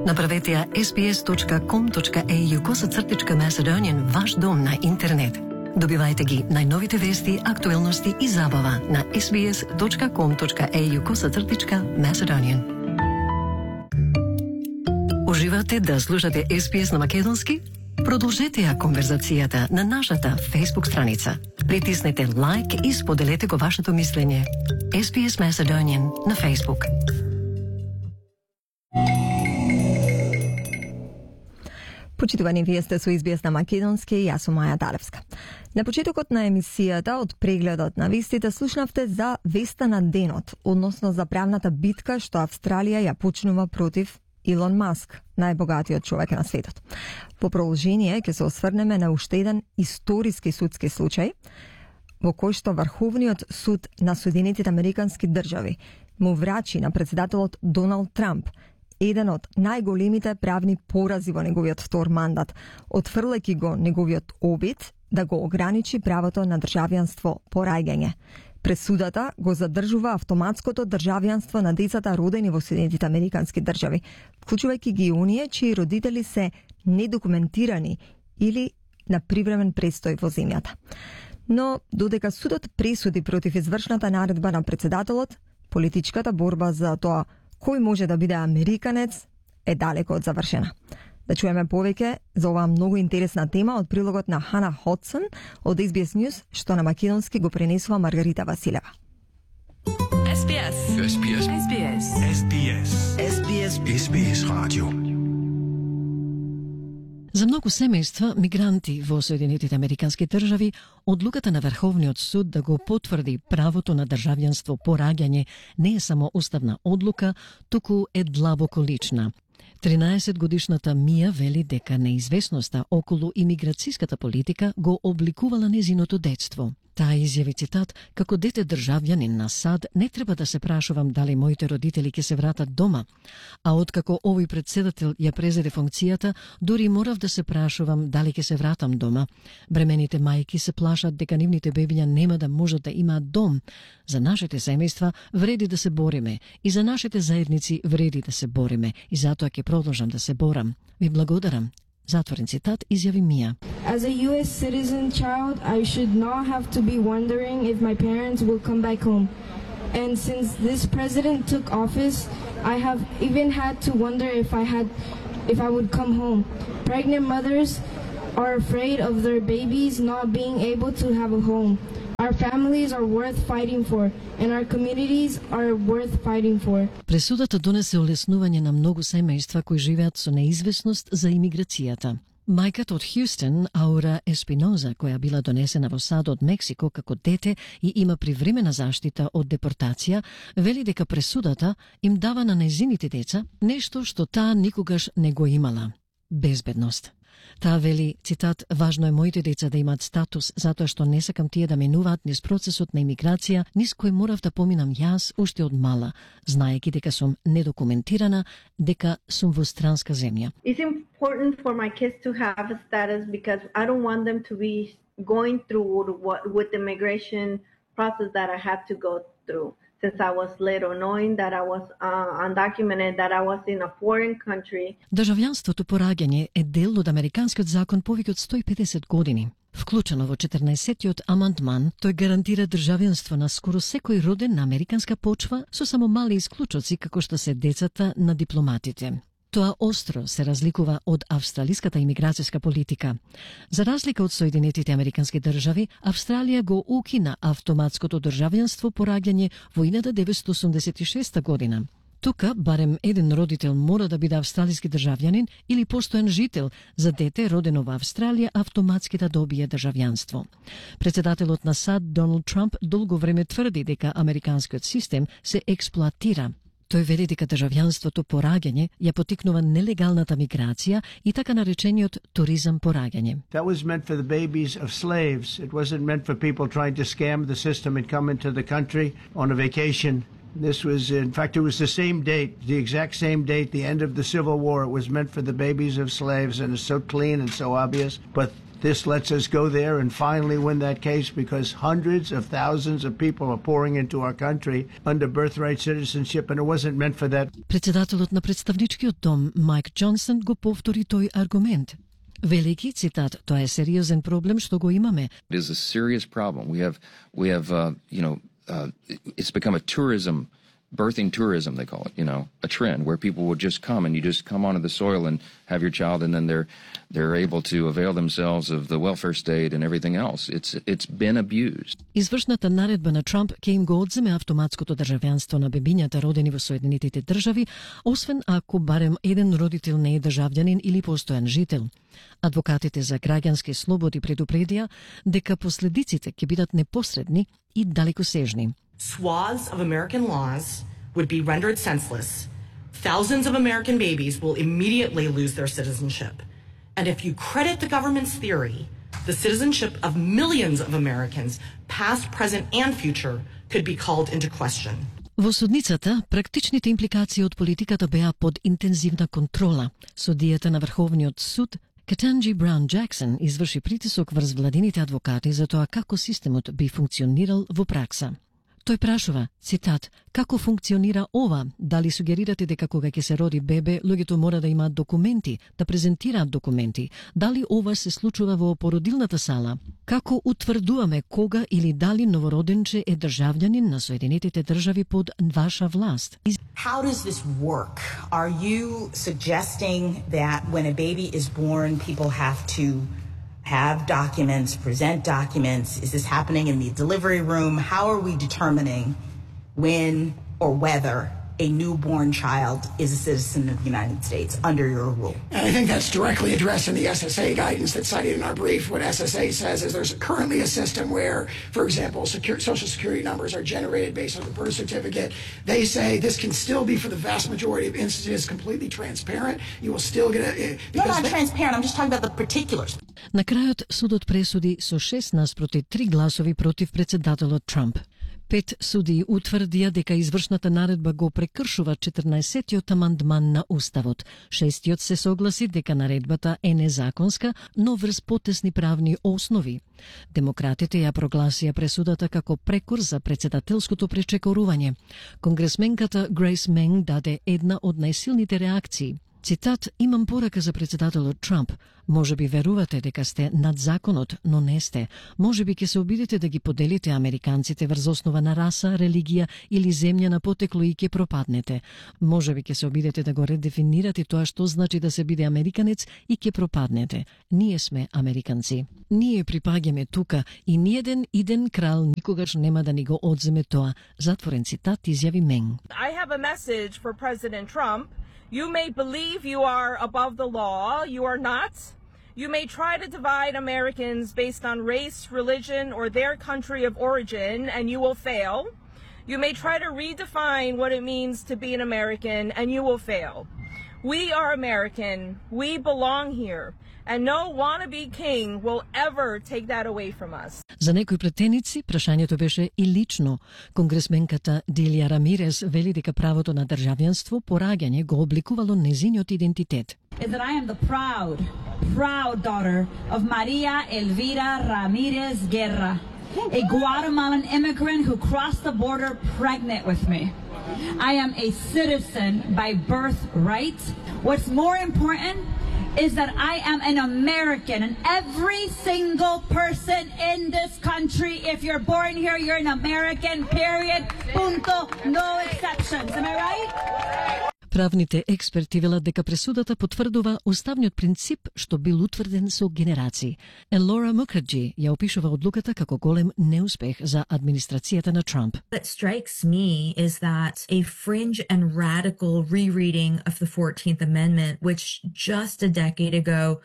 Направете ја sbs.com.au/Macedonian ваш дом на интернет. Добивајте ги најновите вести, актуелности и забава на sbs.com.au/Macedonian. Уживате да слушате SBS на македонски? Продолжете ја конверзацијата на нашата Facebook страница. Притиснете лайк и споделете го вашето мислење. SBS Macedonian на Facebook. Почитувани, вие сте со SBS на македонски, јас сум Маја Далевска. На почетокот на емисијата од прегледот на вестите слушнавте за веста на денот, односно за правната битка што Австралија ја почнува против Илон Маск, најбогатиот човек на светот. По продолжение ќе се осврнеме на уште еден историски судски случај во кој што Врховниот суд на Соединетите Американски држави му врачи на председателот Доналд Трамп еден од најголемите правни порази во неговиот втор мандат, отфрлајќи го неговиот обид да го ограничи правото на државјанство по раѓање. Пресудата го задржува автоматското државјанство на децата родени во Соединетите Американски држави, вклучувајќи ги оние чии родители се недокументирани или на привремен престој во земјата. Но додека судот пресуди против извршната наредба на председателот, политичката борба за тоа кој може да биде американец е далеко од завршена. Да чуеме повеќе за оваа многу интересна тема од прилогот на Хана Ходсон од SBS News, што на македонски го пренесува Маргарита Василева. SBS. SBS. SBS. SBS. SBS. SBS Radio. За многу семејства, мигранти во Соединетите Американски држави, одлуката на Врховниот суд да го потврди правото на државјанство по раѓање не е само уставна одлука, туку е длабоко лична. 13-годишната Мија вели дека неизвестноста околу имиграцијската политика го обликувала незиното детство. Таа изјави, цитат, како дете државјанин на САД не треба да се прашувам дали моите родители ќе се вратат дома, а откако овој председател ја презеде функцијата, дури морав да се прашувам дали ќе се вратам дома. Бремените мајки се плашат дека нивните бебиња нема да можат да имаат дом. За нашите семејства вреди да се бориме и за нашите заедници вреди да се бориме и затоа ќе продолжам да се борам. Ви благодарам. Затворен цитат изјави Мија. As a US citizen child, I should not have to be wondering if my parents will come back home. And since this president took office, I have even had to wonder if I would come home. Pregnant mothers are afraid of their babies not being able to have a home. Our families are worth fighting for, and our communities are worth fighting for. Пресудата донесе олеснување на многу семејства кои живеат со неизвестност за имиграцијата. Мајката од Хјустон, Аура Еспиноза, која била донесена во САД од Мексико како дете и има привремена заштита од депортација, вели дека пресудата им дава на нејзините деца нешто што таа никогаш не го имала – безбедност. Таа вели, цитат, важно е моите деца да имаат статус, затоа што не сакам тие да минуваат низ процесот на имиграција, низ кој морав да поминам јас уште од мала, знаејќи дека сум недокументирана, дека сум во странска земја. It's important for my kids to have a status because I don't want them to be going through with the immigration process that I had to go through. Since I was little, knowing that I was undocumented, that I was in a foreign country. Државјанството по раѓање е дел од американскиот закон повеќе од 150 години. Вклучено во 14-тиот амандман, тој гарантира државјанство на скоро секој роден на американска почва со само мали исклучоци како што се децата на дипломатите. Тоа остро се разликува од австралиската имиграцијска политика. За разлика од Соединетите Американски држави, Австралија го укина автоматското државјанство по раѓање во 1986 година. Тука, барем еден родител мора да биде австралиски државјанин или постојан жител за дете родено во Австралија автоматски да добие државјанство. Председателот на САД Доналд Трамп долго време тврди дека американскиот систем се експлоатира. Тој вели дека државјанството по раѓање ја потикнува нелегалната миграција и така наречениот туризам по раѓање. That was meant for the babies of slaves. It wasn't meant for people trying to scam the system and come into the country on a vacation. This was, in fact, it was the same date, the exact same date, the end of the Civil War. It was meant for the babies of slaves, and it's so clean and so obvious. But This lets us go there and finally win that case because hundreds of thousands of people are pouring into our country under birthright citizenship and it wasn't meant for that. Председателот на представничкиот дом Майк Џонсон го повтори тој аргумент. Велики цитат, тоа е сериозен проблем што го имаме. It is a serious problem. We have it's become a birthing tourism, they call it, a trend where people would just come and you just come onto the soil and have your child and then they're able to avail themselves of the welfare state and everything else. It's been abused. Извршната наредба на Трамп ќе им го одземе автоматското државјанство на бебињата родени во Соединетите држави, освен ако барем еден родител не е државјанин или постојан жител. Адвокатите за граѓански слободи предупредија дека последиците ќе бидат непосредни и далекосежни. Swaths of American laws would be rendered senseless. Thousands of American babies will immediately lose their citizenship. And if you credit the government's theory, the citizenship of millions of Americans, past, present, and future, could be called into question. Во судницата, практичните импликации од политиката беа под интензивна контрола. Судијата на Врховниот суд Ketanji Brown Jackson изврши притисок врз владините адвокати за тоа како системот би функционирал во пракса. Тој прашува, цитат, како функционира ова? Дали сугерирате дека кога ќе се роди бебе, луѓето мора да имаат документи, да презентираат документи? Дали ова се случува во породилната сала? Како утврдуваме кога или дали новороденче е државјанин на Соединетите држави под ваша власт? How does this work? Are you suggesting that when a baby is born, people have to have documents, present documents? Is this happening in the delivery room? How are we determining when or whether a newborn child is a citizen of the United States under your rule? And I think that's directly addressed in the SSA guidance that's cited in our brief. What SSA says is there's currently a system where, for example, Social Security numbers are generated based on the birth certificate. They say this can still be, for the vast majority of instances, completely transparent. You will still get a... Not transparent, I'm just talking about the particulars. На крајот судот пресуди со 6-3 гласови против председателот Трамп. 5 судии утврдија дека извршната наредба го прекршува 14-тиот амандман на Уставот. 6-тиот се согласи дека наредбата е незаконска, но врз потесни правни основи. Демократите ја прогласија пресудата како прекор за председателското пречекорување. Конгресменката Грейс Менг даде една од најсилните реакции. Цитат, имам порака за председателот Трамп. Може би верувате дека сте над законот, но не сте. Може би ќе се обидите да ги поделите американците врз основа на раса, религија или земја на потекло и ќе пропаднете. Може би ќе се обидите да го редефинирате тоа што значи да се биде американец и ќе пропаднете. Ние сме американци. Ние припаѓаме тука и ниеден иден крал никогаш нема да ни го одземе тоа. Затворен цитат изјави Менг. I have a message for President Trump. You may believe you are above the law. You are not. You may try to divide Americans based on race, religion, or their country of origin, and you will fail. You may try to redefine what it means to be an American, and you will fail. We are American. We belong here. And no wannabe king will ever take that away from us. За некои претеници, прашањето беше и лично. Конгресменката Делија Рамирес вели дека правото на државјанство по раѓање го обликувало незиниот идентитет. Is that I am the proud daughter of Maria Elvira Ramirez Guerra, a Guatemalan immigrant who crossed the border pregnant with me. I am a citizen by birthright. What's more important is that I am an American, and every single person in this country, if you're born here, you're an American, period, punto, no exceptions. Am I right? Правните експерти велат дека пресудата потврдува уставниот принцип што бил утврден со генерации. Елора Мукерджи ја опишува одлуката како голем неуспех за администрацијата на Трамп. What strikes me is that a fringe and radical rereading of the 14th Amendment, which just a decade ago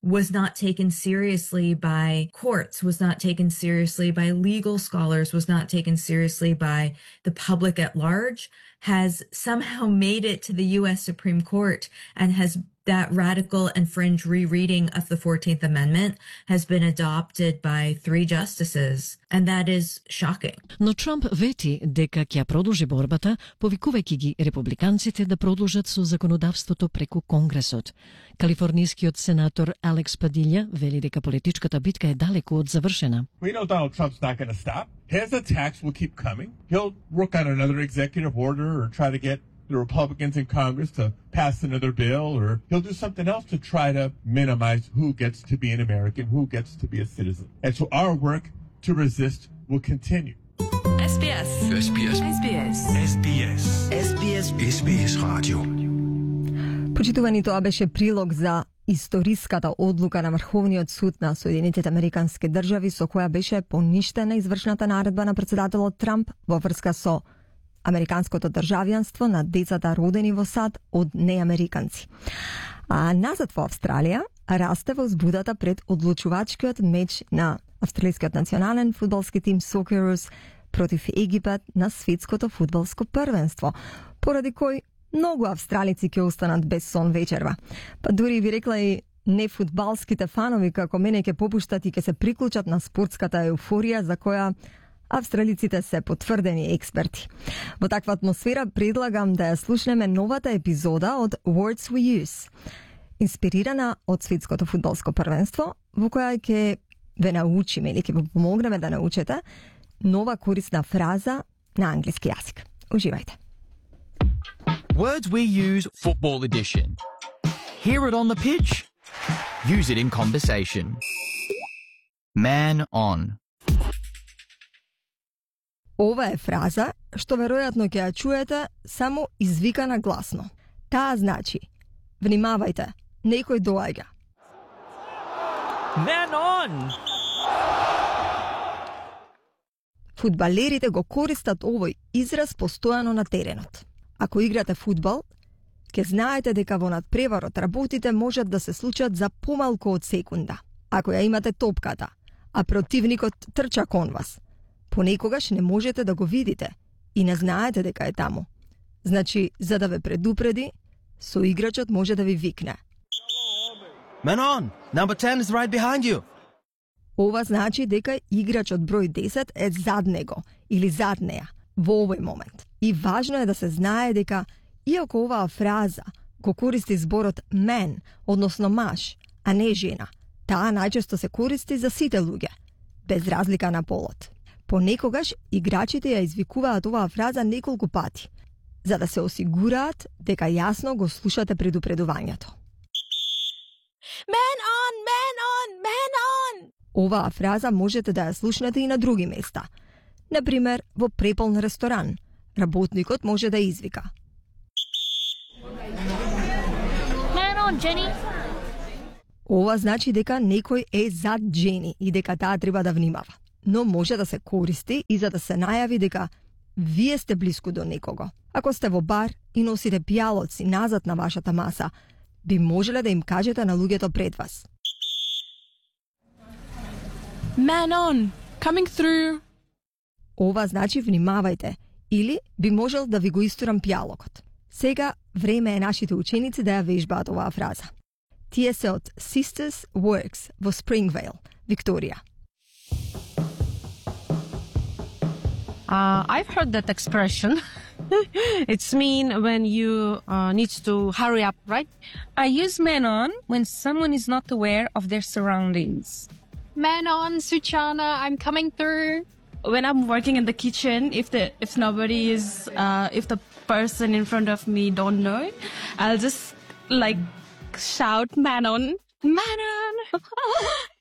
was not taken seriously by courts, was not taken seriously by legal scholars, was not taken seriously by the public at large, has somehow made it to the U.S. Supreme Court and has that radical and fringe rereading of the 14th Amendment has been adopted by 3 justices, and that is shocking. Но Трамп вети дека ќе продолжи борбата, повикувајќи ги републиканците да продолжат со законодавството преку Конгресот. Калифорнискиот сенатор Алекс Падилја вели дека политичката битка е далеку од завршена. We know Donald Trump's not going to stop. His attacks will keep coming. He'll work on another executive order or try to get the Republicans in Congress to pass another bill, or he'll do something else to try to minimize who gets to be an American, who gets to be a citizen. And so our work to resist will continue. SBS. SBS. SBS. SBS. SBS. SBS Radio. Почитувани, тоа беше прилог за историската одлука на Врховниот суд на Соединетите Американски држави со која беше поништена извршната наредба на претседателот Трамп во врска со американското државјанство на децата родени во САД од неамериканци. А назад во Австралија расте возбудата пред одлучувачкиот меч на австралискиот национален фудбалски тим Socceroos против Египет на светското фудбалско првенство, поради кој многу австралици ќе останат без сон вечерва. Па дури би рекла и нефудбалските фанови како мене ќе попуштат и ќе се приклучат на спортската еуфорија за која австралиците се потврдени експерти. Во таква атмосфера предлагам да ја слушнеме новата епизода од Words We Use, инспирирана од светското фудбалско првенство, во која ќе ве научиме или ќе ви помогнеме да научите нова корисна фраза на англиски јазик. Уживајте. Words We Use Football Edition. Hear it on the pitch. Use it in conversation. Man on. Ова е фраза што веројатно ќе ја чуете само извикана гласно. Таа значи: внимавајте, некој доаѓа. Man on! Фудбалерите го користат овој израз постојано на теренот. Ако играте фудбал, ќе знаете дека во надпреварот работите можат да се случат за помалку од секунда. Ако ја имате топката, а противникот трча кон вас, понекогаш не можете да го видите и не знаете дека е таму. Значи, за да ве предупреди, соиграчот може да ви викне: Man on! Number 10 is right behind you. Ова значи дека играчот број 10 е зад него или зад неа во овој момент. И важно е да се знае дека, иако оваа фраза го користи зборот man, односно маж, а не жена, таа најчесто се користи за сите луѓе, без разлика на полот. Понекогаш играчите ја извикуваат оваа фраза неколку пати, за да се осигураат дека јасно го слушате предупредувањето. Man on, man on, man on! Оваа фраза можете да ја слушнете и на други места. Например, во преполн ресторан, работникот може да извика: Man on, Jenny! Ова значи дека некој е зад Джени и дека таа треба да внимава. Но може да се користи и за да се најави дека вие сте блиску до некого. Ако сте во бар и носите пијалоци назад на вашата маса, би можеле да им кажете на луѓето пред вас: Man on, coming through. Ова значи внимавајте, или би можел да ви го истурам пијалокот. Сега време е нашите ученици да ја вежбаат оваа фраза. Тие се од Sisters Works во Springvale, Викторија. I've heard that expression. It's mean when you need to hurry up, right? I use man on when someone is not aware of their surroundings. Man on, Suchana, I'm coming through. When I'm working in the kitchen, if nobody is, if the person in front of me don't know it, I'll just like shout man on. Man on!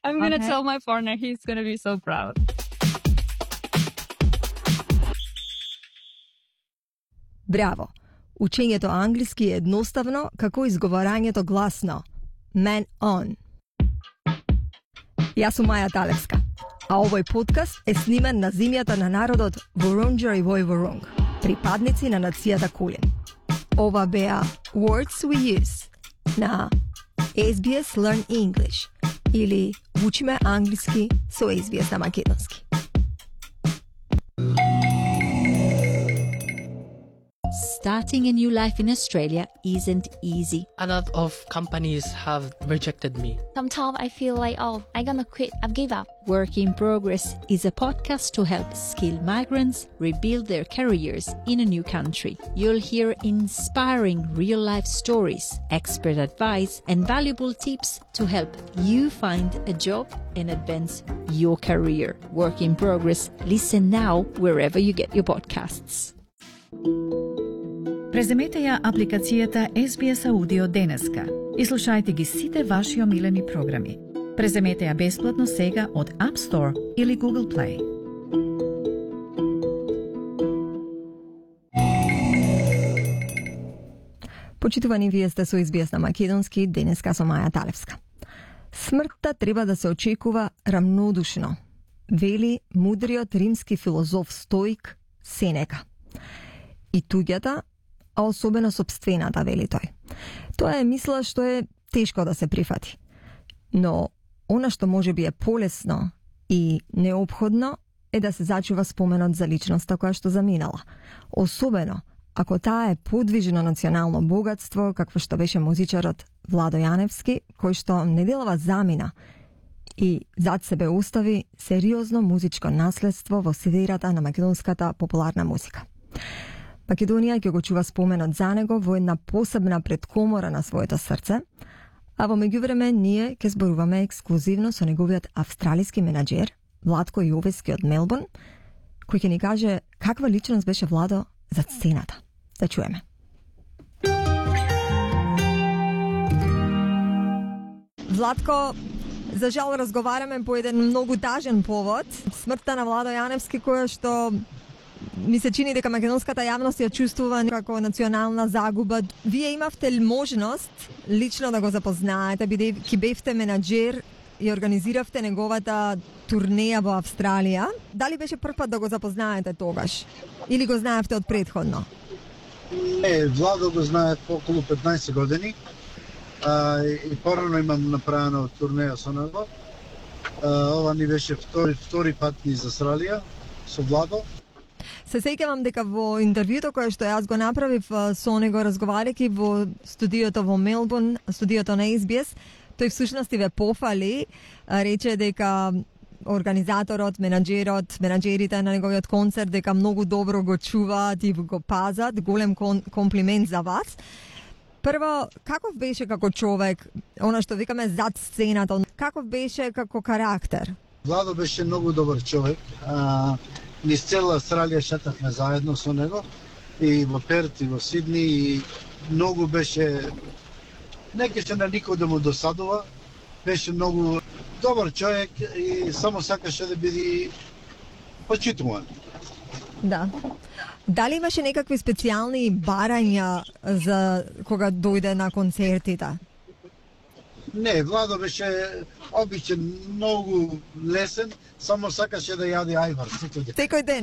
I'm gonna tell my partner, he's gonna be so proud. Браво! Учењето англиски е едноставно како изговорањето гласно. Man on. Јас сум Маја Талевска, а овој подкаст е снимен на земјата на народот Wurundjeri Woi-wurrung, припадници на нацијата Кулин. Ова беа Words We Use на SBS Learn English или Учиме англиски со SBS на македонски. starting a new life in Australia isn't easy. A lot of companies have rejected me. Sometimes I feel like, oh, I'm gonna quit, I've give up. Work in Progress is a podcast to help skilled migrants rebuild their careers in a new country. You'll hear inspiring real-life stories, expert advice, and valuable tips to help you find a job and advance your career. Work in Progress. Listen now wherever you get your podcasts. Преземете ја апликацијата SBS Audio денеска и слушајте ги сите ваши омилени програми. Преземете ја бесплатно сега од App Store или Google Play. Почитувани, вие сте со SBS на македонски, денеска со Маја Талевска. Смртта треба да се очекува рамнодушно, вели мудриот римски филозоф стоик Сенека. И туѓата, а особено сопствената, вели тој. Тоа е мисла што е тешко да се прифати. Но она што може би е полесно и неопходно е да се зачува споменот за личноста која што заминала. Особено ако таа е подвижно национално богатство, какво што беше музичарот Владо Јаневски, кој што неделава замина и зад себе остави сериозно музичко наследство во сферата на македонската популарна музика. Македонија ќе го чува споменот за него во една посебна предкомора на своето срце, а во меѓувреме ние ќе зборуваме ексклузивно со неговиот австралиски менаџер Владко Јовески од Мелбурн, кој ќе ни каже каква личност беше Владо за сцената. Да чуеме. Владко, за жал разговараме по еден многу тажен повод. Смртта на Владо Јаневски, која што ми се чини дека македонската јавност ја чувствува како национална загуба. Вие имавте ли можност лично да го запознаете, бидејќи бевте менаџер и организиравте неговата турнеја во Австралија? Дали беше прв пат да го запознаете тогаш? Или го знаевте од предходно? Не, Владо го знаев по околу 15 години. И порано имам направено турнеја со него. Ова ни беше втори пат низ Австралија со Владо. Се сеќавам дека во интервјуто кое што јас го направив со него разговарајќи во студиото во Мелбурн, студиото на SBS, тој всушност ве пофали, рече дека организаторот, менаџерите на неговиот концерт дека многу добро го чуваат и го пазат, голем комплимент за вас. Прво, каков беше како човек, она што викаме зад сцената, каков беше како карактер? Владо беше многу добар човек. Низ цела Австралија шетавме заедно со него и во Перт и во Сидни и многу беше, не кеше на никој да му досадува, беше многу добар човек и само сакаше да биде почитуван. Да. Дали имаше некакви специјални барања за кога дојде на концертите? Не, Владо беше обичен, многу лесен, само сакаше да јаде ајвар секој ден. Секој ден?